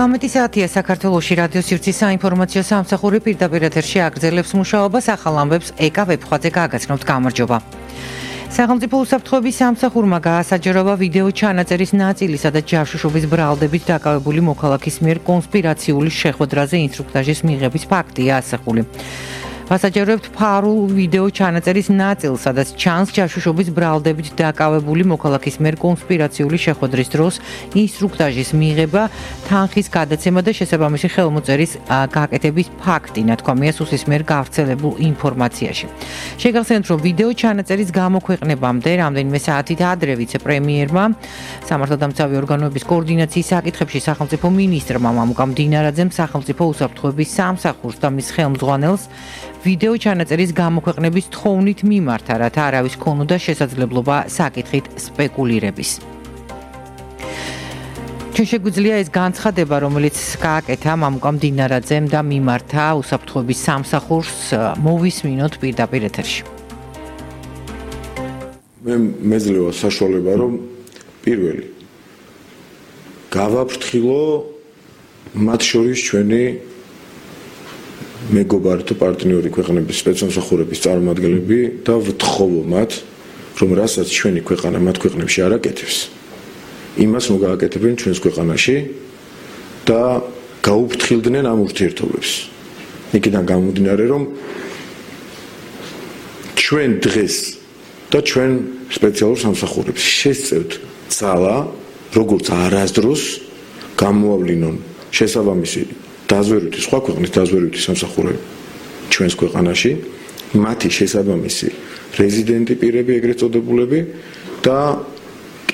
19 საათია საქართველოში რადიო სივრცის საინფორმაციო სამსახური პირდაპირ ეთერში აგრძელებს მუშაობას ახალ ამბებს ეკა ვებხვაძე გააგრძნობთ გამარჯობა. სახელმწიფო უსაფრთხოების სამსახურმა გაასაჯაროვა ვიდეო ჩანაწერის ნაწილისა და ჯაშუშობის ბრალდებით დაკავებული მოქალაქის მიერ კონსპირაციული შეხვედრაზე ინსტრუქტაჟის მიღების ფაქტია ასახული. ვასაჯაროებთ ფარულ ვიდეო ჩანაწერის ნაწილს, სადაც ჩანს ჯაშუშობის ბრალდებით დაკავებული მოქალაქის მიერ კონსპირაციული შეხვედრის დროს ინსტრუქტაჟის მიღება, თანხის გადაცემა და შესაბამისი ხელმოწერის გაკეთების ფაქტი, ნათქვამია სუსის მიერ გავრცელებულ ინფორმაციაში. შეგახსენებთ, რომ ვიდეო ჩანაწერის გამოქვეყნებამდე რამდენიმე საათით ადრე ვიცე-პრემიერმა, სამართალდამცავი ორგანოების კოორდინაციის საკითხებში სახელმწიფო მინისტრმა მამუკა მდინარაძემ სახელმწიფო უსაფრთხოების სამსახურს და მის ხელმძღვანელს ვიდეო ჩანაწერის გამოქვეყნების თხოვნით მიმართა, რათა არავის ქონოდა შესაძლებლობა საკითხით სპეკულირების. ჩვენ შეგვიძლია ეს განცხადება, რომელიც გააკეთა მამუკა მდინარაძემ და მიმართა უსაფრთხოების სამსახურს, მოვისმინოთ პირდაპირ ეთერში. მე მეძლევა საშუალება, რომ პირველი გავაფრთხილო მათ შორის ჩვენი მეგობართა პარტნიორი ქვეყნების სპეცსამსახურების წარმომადგენლები და ვთხოვო მათ, რომ რასაც ჩვენი ქვეყანა მათ ქვეყნებში არ აკეთებს, იმას მოგააკეთებენ ჩვენს ქვეყანაში და გაუფრთხილდნენ ამ ურთიერთობებს. იქიდან გამომდინარე, რომ ჩვენ დღეს და ჩვენ სპეციალურ სამსახურებს შესწევთ ძალა, როგორც არასდროს გამოავლინონ შესაბამისი დაზვერვითი სხვა ქვეყნის დაზვერვითი სამსახურები ჩვენს ქვეყანაში, მათი შესაბამისი რეზიდენტი პირები ეგრეთ წოდებულები და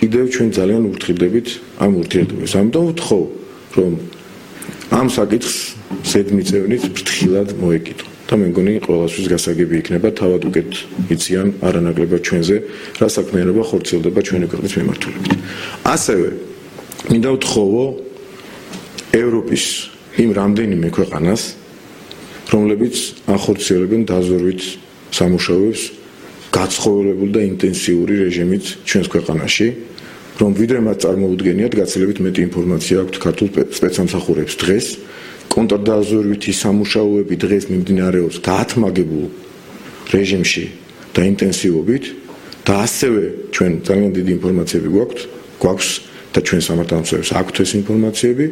კიდევ ჩვენ ძალიან ურთიერთდებით ამ ურთიერთობებს. ამიტომ ვთხოვ, რომ ამ საკითხს ზედმიწევნით ფრთხილად მოეკიდო და მე მგონი ყველასთვის გასაგები იქნება, თავად უკეთ იციან არანაკლებად ჩვენზე რა საქმიანობა ხორციელდება ჩვენი ქვეყნის მიმართულებით. ასევე მინდა ვთხოვო ევროპის იმ რამდენიმე ქვეყანას, რომლებიც ახორციელებენ დაზვერვით სამუშაოებს გაცხოველებული და ინტენსიური რეჟიმით ჩვენს ქვეყანაში, რომ ვიდრე მათ წარმოუდგენიათ, გაცილებით მეტი ინფორმაცია აქვთ ქართულ სპეცსამსახურებს დღეს, კონტრდაზვერვითი სამუშაოები დღეს მიმდინარეობს გაათმაგებულ რეჟიმში და ინტენსივობით და ასევე ჩვენ ძალიან დიდი ინფორმაციები გვაქვს და ჩვენ სამართალდამცავებს აქვთ ეს ინფორმაციები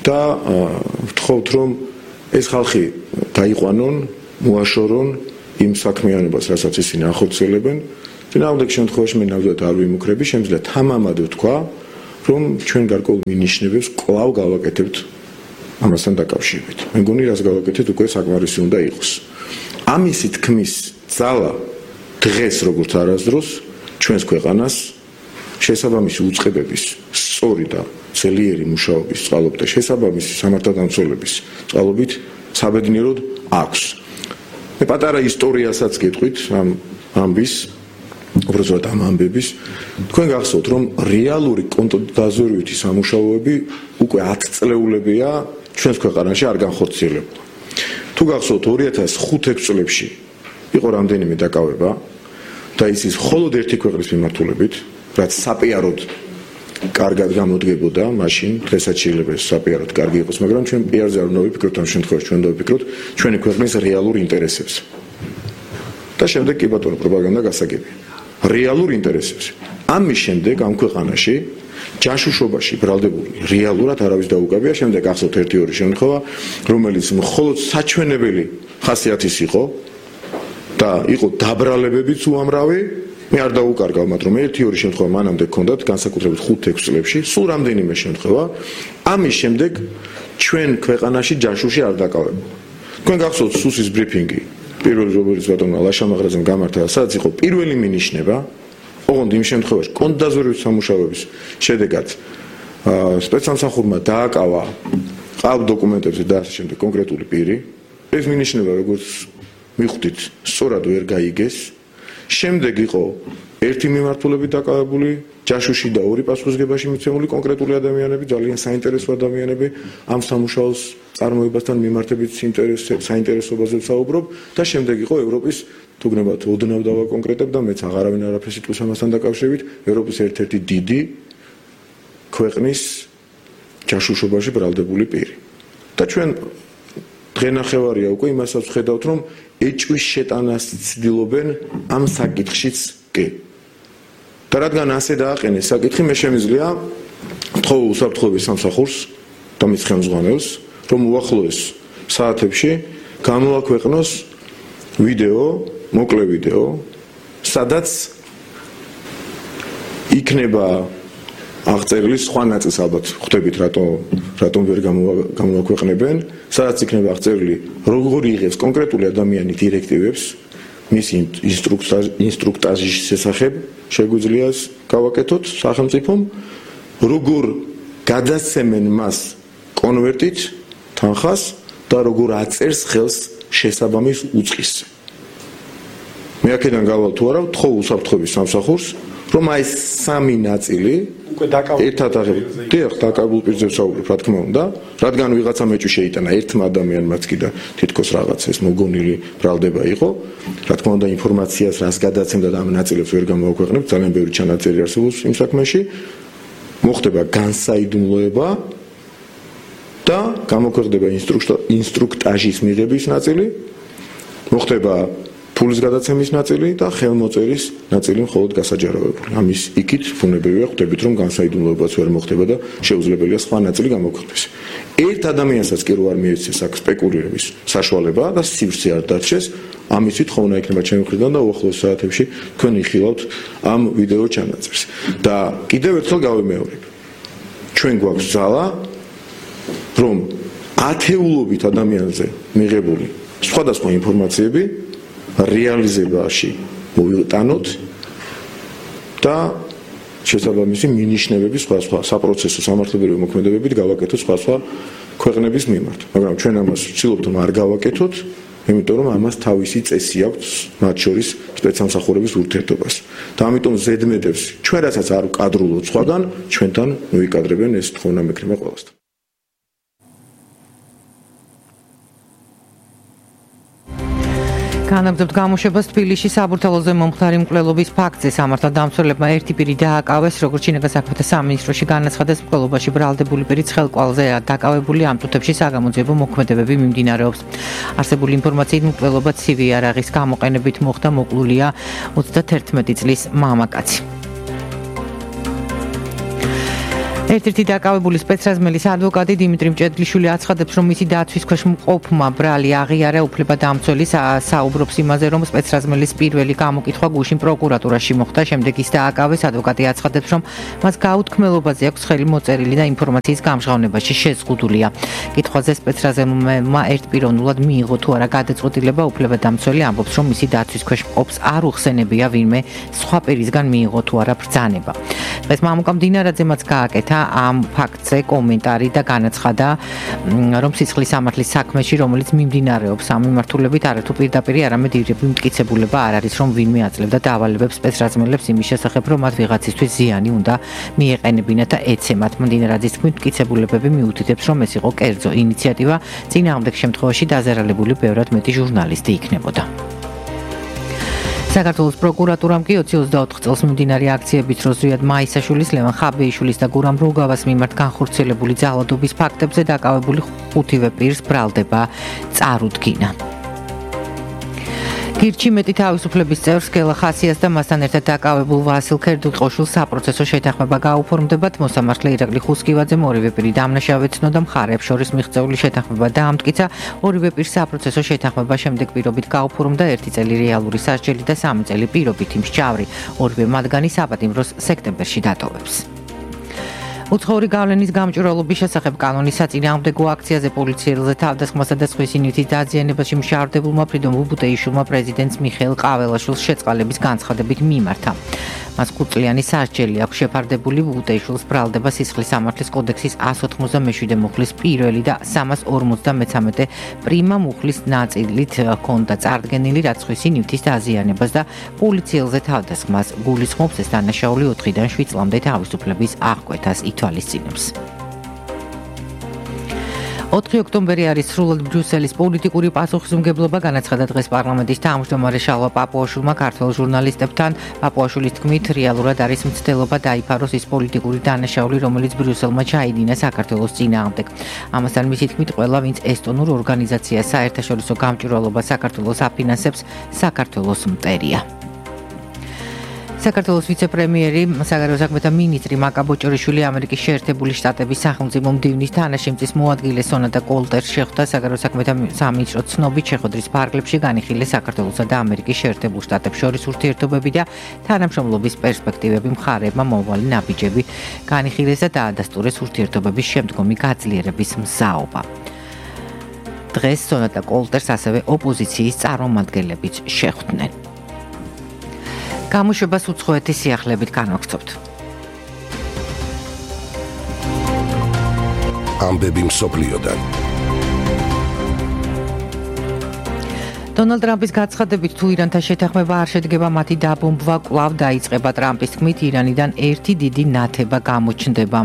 და ვთხოვთ, რომ ეს ხალხი გაიყვანონ, მოაშორონ იმ საქმიანობას, რასაც ისინი ახორციელებენ. წინააღმდეგ შემთხვევაში მე ნამდვილად არ ვიმუქრები, შემიძლია თამამად ვთქვა, რომ ჩვენ გარკვეულ მინიშნებებს კვლავ გავაკეთებთ ამასთან დაკავშირებით. მე მგონი, რას გავაკეთეთ, უკვე საკმარისი უნდა იყოს. ამისი თქმის ძალა დღეს როგორც არასდროს ჩვენს ქვეყანას შესაბამისი უწყებების სწორი და ძლიერი მუშაობის წყალობით და შესაბამისი სამართალდამცველების წყალობით საბედნიეროდ აქვს. მე პატარა ისტორიასაც გეტყვით ამ ამბის, უბრალოდ ამ ამბების. თქვენ გახსოვთ, რომ რეალური კონტრდაზვერვითი სამუშაოები უკვე 10 წლეულებია ჩვენს ქვეყანაში არ განხორციელებულა. თუ გახსოვთ 2005-6 წლებში იყო რამდენიმე დაკავება და ის მხოლოდ ერთი ქვეყნის მიმართულებით, რაც საპიაროდ კარგად გამოდგებოდა მაშინ, დღესაც შეიძლება საპიაროდ კარგი იყოს, მაგრამ ჩვენ პიარზე არ უნდა ვიფიქროთ ამ შემთხვევაში, ჩვენ უნდა ვიფიქროთ ჩვენი ქვეყნის რეალურ ინტერესებს. და შემდეგ კი ბატონო პროპაგანდა გასაგებია. რეალურ ინტერესებს. ამის შემდეგ ამ ქვეყანაში ჯაშუშობაში ბრალდებული რეალურად არავის დაუკავია, შემდეგ ახსოვთ 1-2 შემთხვევა, რომელიც მხოლოდ საჩვენებელი ხასიათის იყო და იყო დაბრალებებიც უამრავი. მე არ დაუკარგავ მათ, რომ 1-2 შემთხვევა მანამდე ჰქონდათ, განსაკუთრებით 5-6 წლებში, სულ რამდენიმე შემთხვევა. ამის შემდეგ ჩვენ ქვეყანაში ჯაშუში არ დაკავებულა. თქვენ გახსოვთ სუსის ბრიფინგი, პირველი რომელიც ბატონმა ლაშამაღრაძემ გამართა, სადაც იყო პირველი მინიშნება, ოღონდ იმ შემთხვევაში კონტრდაზვერვის სამუშაოების შედეგად სპეცსამსახურმა დააკავა ყალბ დოკუმენტებზე და ასე შემდეგ კონკრეტული პირი. ეს მინიშნება, როგორც მიხვდით, სწორად ვერ გაიგეს. შემდეგ იყო ერთი მიმართულებით დაკავებული ჯაშუში და ორი პასუხისგებაში მიცემული კონკრეტული ადამიანები, ძალიან საინტერესო ადამიანები, ამ სამუშაოს წარმოებასთან მიმართებით საინტერესობაზე ვსაუბრობ და შემდეგ იყო ევროპის, თუ გნებათ, ოდნავ დავაკონკრეტებ და მეც აღარავინ არაფერს იტყვის ამასთან დაკავშირებით, ევროპის ერთ-ერთი დიდი ქვეყნის ჯაშუშობაში ბრალდებული პირი. და ჩვენ დღენახევარია უკვე იმასაც ვხედავთ, რომ ეჭვის შეტანას ცდილობენ ამ საკითხშიც კი. და რადგან ასე დააყენეს საკითხი, მე შემიძლია ვთხოვო უსაფრთხოების სამსახურს და მის ხელმძღვანელს, რომ უახლოეს საათებში გამოაქვეყნოს ვიდეო, მოკლე ვიდეო, სადაც იქნება აღწერილი სხვა ნაწილს ალბათ ხვდებით რატომ ვერ გამოაქვეყნებენ, სადაც იქნება აღწერილი როგორ იღებს კონკრეტული ადამიანი დირექტივებს მის ინსტრუქტაჟის შესახებ შეგვიძლია გავაკეთოთ სახელმწიფომ, როგორ გადასცემენ მას კონვერტით თანხას და როგორ აწერს ხელს შესაბამის უწყის. მე აქედან გავალ თუ არა, ვთხოვ უსაფრთხოების სამსახურს, რომ აი სამი ნაწილი ერთად დაკავებულ პირზე ვსაუბრობ, რა თქმა უნდა, რადგან ვიღაცა მეჭვი შეიტანა ერთმა ადამიანმაც კი და თითქოს რაღაც ეს მოგონილი ბრალდება იყო, რა თქმა უნდა ინფორმაციას რას გადაცემდა და ამ ნაწილებს ვერ გამოაქვეყნებთ, ძალიან ბევრი ჩანაწერი არსებობს იმ საქმეში, მოხდება განსაიდუმლოება და გამოქვეყნდება ინსტრუქტაჟის მიღების ნაწილი, მოხდება ფულის გადაცემის ნაწილი და ხელმოწერის ნაწილი მხოლოდ გასაჯაროვებული. ამის იქით ფუნებრივია ხვდებით, რომ განსაიდუმლოებაც ვერ მოხდება და შეუძლებელია სხვა ნაწილი გამოქვეყნდეს. ერთ ადამიანსაც კი რო არ მიეცეს აქ სპეკულირების საშუალება და სივრცე არ დარჩეს, ამისთვის ხოვნა იქნება ჩემი მხრიდან და უახლოეს საათებში თქვენ იხილავთ ამ ვიდეო ჩანაწერს. და კიდევ ერთხელ გავიმეორებ. ჩვენ გვაქვს ძალა, რომ ათეულობით ადამიანზე მიღებული სხვადასხვა ინფორმაციები რეალიზებაში მოვიტანოთ და შესაბამისი მინიშნებები სხვა საპროცესო სამართლებრივი მოქმედებებით გავაკეთოთ სხვა ქვეყნების მიმართ. მაგრამ ჩვენ ამას ვცდილობთ რომ არ გავაკეთოთ, იმიტომ რომ ამას თავისი წესი აქვს, მათ შორის სპეცსამსახურების ურთიერთობას. და ამიტომ ზედმეტებს ჩვენ რასაც არ ვკადრულობთ სხვაგან, ჩვენთან მოიკადრებენ ეს თხოვნა მექნება ყველასთან. განაგრძობთ გამოშვებას თბილისში საბურთალოზე მომხდარი მკვლელობის ფაქტზე. სამართალდამცველებმა ერთი პირი დააკავეს, როგორც შინაგან საქმეთა სამინისტროში განაცხადეს, მკვლელობაში ბრალდებული პირის ხელკვალზე დაკავებული ამ წუთებში საგამოძიებო მოქმედებები მიმდინარეობს. არსებული ინფორმაციით მკვლელობა ცივი იარაღის გამოყენებით მოხდა, მოკლულია 31 წლის მამაკაცი. ერთ-ერთი დაკავებული სპეცრაზმელის ადვოკატი დიმიტრი მჭედლიშვილი აცხადებს, რომ მისი დაცვის ქვეშ მყოფმა ბრალი აღიარა უფლებადამცველი, საუბრობს იმაზე, რომ სპეცრაზმელის პირველი გამოკითხვა გუშინ პროკურატურაში მოხდა, შემდეგ ის დააკავეს. ადვოკატი აცხადებს, რომ მას გაუთქმელობაზე აქვს ხელი მოწერილი და ინფორმაციის გამჟღავნებაში შეზღუდულია. კითხვაზე სპეცრაზმელმა ერთპიროვნულად მიიღო თუ არა გადაწყვეტილება, უფლებადამცველი ამბობს, რომ მისი დაცვის ქვეშ მყოფს არ უხსენებია ვინმე სხვა პირისგან მიიღო თუ არა ბრძანება. დღეს მამუკამ დინარაძემაც გააკეთა ამ ფაქტზე კომენტარი და განაცხადა, რომ სისხლის სამართლის საქმეში, რომელიც მიმდინარეობს ამ მიმართულებით არათუ პირდაპირ არამედ ირები მტკიცებულება არ არის, რომ ვინმე აძლევდა დავალებებს სპეცრაზმელებს იმის შესახებ, რომ მათ ვიღაცისთვის ზიანი უნდა მიეყენებინათ და ეცემათ. დინარაძის თქმით, მტკიცებულებები მიუთითებს, რომ ეს იყო კერძო ინიციატივა, წინააღმდეგ შემთხვევაში დაზარალებული ბევრად მეტი ჟურნალისტი იქნებოდა. საქართველოს პროკურატურამ კი 2024 წელს მიმდინარე აქციების დროს ზვიად მაისაშვილის, ლევან ხაბეიშვილის და გურამ რუგავას მიმართ განხორციელებული ძალადობის ფაქტებზე დაკავებული 5-ვე პირს ბრალდება წარუდგინა. გირჩი მეტი თავისუფლების წევრს გელა ხასიას და მასთან ერთად დაკავებულ ვასილ ქერდუყოშვილს საპროცესო შეთანხმება გაუფორმდებათ. მოსამართლე ირაკლი ხუსკივაძემ ორივე პირი დამნაშავედ ცნო და მხარეებს შორის მიღწეული შეთანხმება დაამტკიცა. ორივე პირს საპროცესო შეთანხმება შემდეგ პირობით გაუფორმდა 1 წელი რეალური სასჯელი და 3 წელი პირობითი მსჯავრი. ორივე მათგანი საპატიმროს სექტემბერში დატოვებს. უცხოური გავლენის გამჭვირვალობის შესახებ კანონის საწინააღმდეგო აქციაზე პოლიციელზე თავდასხმასა და სხვისი ნივთის დაზიანებაში მშავდებულმა ფრიდონ ბუბუტეიშვილმა პრეზიდენტს მიხეილ ყაველაშვილს შეწყალების განცხადებით მიმართა. მას 5 წლიანი სასჯელი აქვს შეფარდებული. ბუბუტეიშვილს ბრალდება სისხლის სამართლის კოდექსის 197 მუხლის პირველი და 353 პრიმა მუხლის ნაწილით ჰქონდა წარდგენილი, რაც სხვისი ნივთის დაზიანებას და პოლიციელზე თავდასხმას გულისხმობს. ეს დანაშაული 4-დან 7 წლამდე თავისუფლების აღკვეთას ითვალისწინებს. 4 ოქტომბერი არის სრულად ბრიუსელის პოლიტიკური პასუხისმგებლობა, განაცხადა დღეს პარლამენტის თავმჯდომარე შალვა პაპუაშვილმა ქართველ ჟურნალისტებთან. პაპუაშვილის თქმით, რეალურად არის მცდელობა დაიფაროს ის პოლიტიკური დანაშაული, რომელიც ბრიუსელმა ჩაიდინა საქართველოს წინააღმდეგ. ამასთან მისი თქმით, ყველა, ვინც ესტონურ ორგანიზაციას საერთაშორისო გამჭვირვალობა საქართველოს აფინანსებს, საქართველოს მტერია. საქართველოს ვიცე-პრემიერი, საგარეო საქმეთა მინისტრი მაკა ბოჭორიშვილი ამერიკის შეერთებული შტატების სახელმწიფო მდივნის თანაშემწის მოადგილე სონატა კოლტერს შეხვდა საგარეო საქმეთა სამინისტრო ცნობით შეხვედრის ფარგლებში განიხილეს საქართველოსა და ამერიკის შეერთებულ შტატებს შორის ურთიერთობები და თანამშრომლობის პერსპექტივები, მხარეებმა მომავალი ნაბიჯები განიხილეს და დაადასტურეს ურთიერთობების შემდგომი გაძლიერების მზაობა. დღეს სონატა კოლტერს ასევე ოპოზიციის წარმომადგენლებიც შეხვდნენ. გამოშვებას უცხოეთის სიახლეებით განვაგრძობთ. ამბები მსოფლიოდან. დონალდ ტრამპის გაცხადებით, თუ ირანთან შეთანხმება არ შედგება, მათი დაბომბვა კვლავ დაიწყება. ტრამპის თქმით, ირანიდან ერთი დიდი ნათება გამოჩნდება.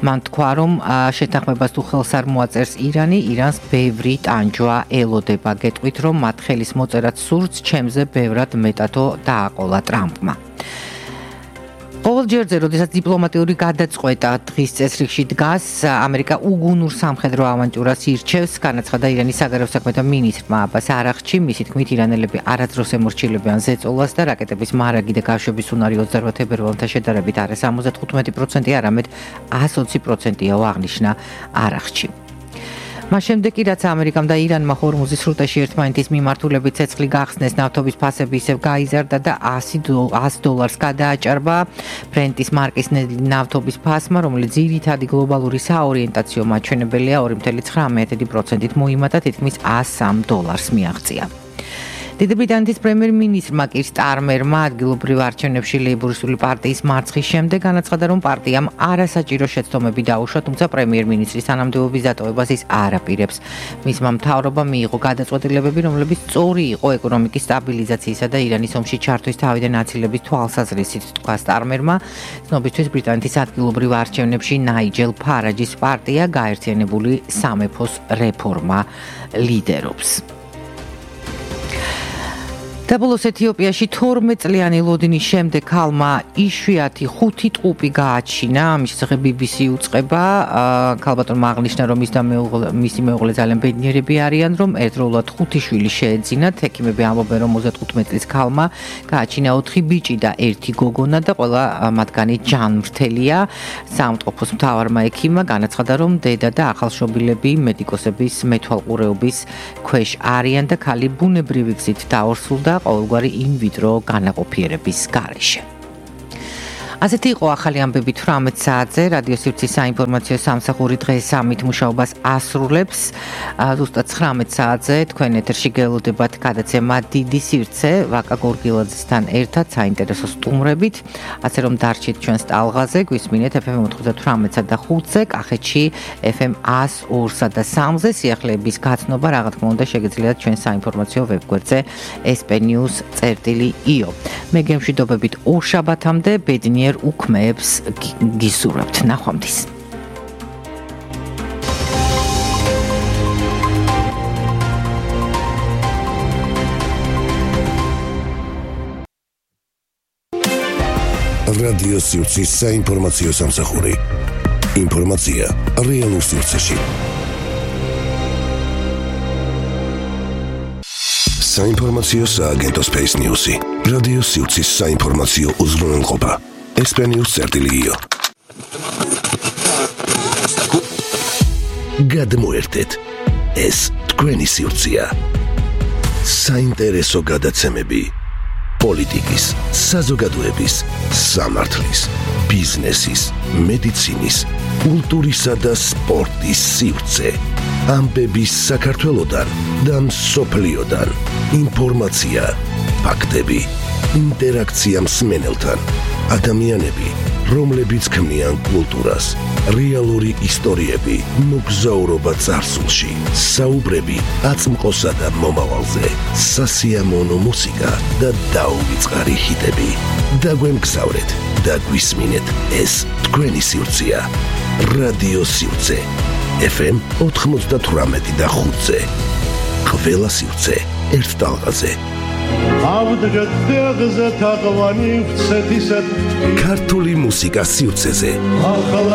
მან თქვა, რომ შეთანხმებას თუ ხელს არ მოაწერს ირანი, ირანს ბევრი ტანჯვა ელოდება. გეტყვით, რომ მათ ხელის მოწერაც სურს, ჩემზე ბევრად მეტადო დააყოლა ტრამპმა. ყოველ ჯერზე, როდესაც დიპლომატიური გადაწყვეტა დღის წესრიგში დგას, ამერიკა უგუნურ სამხედრო ავანტიურას ირჩევს, განაცხადა ირანის საგარეო საქმეთა მინისტრმა აბას არაღჩი. მისი თქმით, ირანელები არასდროს ემორჩილებიან ზეწოლას და რაკეტების მარაგი და გაშვების უნარი 28 თებერვალთან შედარებით არა 75%, არამედ 120%-ია, აღნიშნა არაღჩი. მას შემდეგ კი რაც ამერიკამ და ირანმა ჰორმუზის სრუტეში ერთმანეთის მიმართულებით ცეცხლი გახსნეს, ნავთობის ფასები ისევ გაიზარდა და $100 გადააჭარბა ბრენტის მარკის ნავთობის ფასმა, რომელიც ძირითადი გლობალური საორიენტაციო მაჩვენებელია 2.19%-ით მოიმატა, თითქმის $103 მიაღწია. დიდი ბრიტანეთის პრემიერ-მინისტრმა კირ სტარმერმა ადგილობრივ არჩევნებში ლეიბორისტული პარტიის მარცხის შემდეგ განაცხადა, რომ პარტიამ არასაჭირო შეცდომები დაუშვა, თუმცა პრემიერ-მინისტრის თანამდებობის დატოვებას ის არ აპირებს. მისმა მთავრობამ მიიღო გადაწყვეტილებები, რომლებიც სწორი იყო ეკონომიკის სტაბილიზაციისა და ირანის ომში ჩართვის თავიდან აცილების თვალსაზრისით, თქვა სტარმერმა. ცნობისთვის ბრიტანეთის ადგილობრივ არჩევნებში ნაიჯელ ფარაჯის პარტია გაერთიანებული სამეფოს რეფორმა ლიდერობს. დაბოლოს ეთიოპიაში 12 წლიანი ლოდინის შემდეგ ქალმა იშვიათი 5 ტყუპი გააჩინა. ამის შესახებ BBC უწყება. ქალბატონმა აღნიშნა, რომ მისი მეუღლე ძალიან ბედნიერები არიან, რომ ერთდროულად 5 შვილი შეეძინათ. ექიმები ამბობენ, რომ 35 წლის ქალმა გააჩინა 4 ბიჭი და 1 გოგონა და ყველა მათგანი ჯანმრთელია. საავადმყოფოს მთავარმა ექიმმა განაცხადა, რომ დედა და ახალშობილები მედიკოსების მეთვალყურეობის ქვეშ არიან და ქალი ბუნებრივი გზით დაორსულდა ყოველგვარი ინვიტრო განაყოფიერების გარეშე. ასეთი იყო ახალი ამბები 18 საათზე. რადიო სივრცის საინფორმაციო სამსახური დღეს ამით მუშაობას ასრულებს. ზუსტად 19 საათზე თქვენ ეთერში გელოდებათ გადაცემა დიდი სივრცე ვაკა გორგილაძესთან ერთად საინტერესო სტუმრებით. ასე რომ დარჩით ჩვენს ტალღაზე, გვისმინეთ FM 98-სა და 5-ზე, კახეთში FM 102-სა და 3-ზე. სიახლეების გაცნობა რა თქმა უნდა შეგიძლიათ ჩვენ საინფორმაციო ვებგვერდზე sp-news.io. მე გემშვიდობებით ორ შაბათამდე ბედნიერ უქმეებს გისურვებთ. ნახვამდის. რადიო სივრცის საინფორმაციო სამსახური. ინფორმაცია რეალურ სივრცეში. საინფორმაციო სააგენტო Space News-ი. რადიო სივრცის საინფორმაციო უზრუნველყოფა. sp-news.io. გადმოერთეთ. ეს თქვენი სივრცეა. საინტერესო გადაცემები. პოლიტიკის, საზოგადოების, სამართლის, ბიზნესის, მედიცინის, კულტურისა და სპორტის სივრცე. ამბები საქართველოდან და მსოფლიოდან. ინფორმაცია, ფაქტები, ინტერაქცია მსმენელთან. ადამიანები, რომლებიც ქმნიან კულტურას, რეალური ისტორიები, მოგზაურობა წარსულში, საუბრები აწმყოსა და მომავალზე, სასიამოვნო მუსიკა და დაუვიწყარი ჰიტები. დაგვემგზავრეთ და გვისმინეთ, ეს თქვენი სივრცეა. რადიო სივრცე. FM 98 და 5-ზე. ყველა სივრცე ერთ ტალღაზე. ქართული მუსიკა სივრცეზე.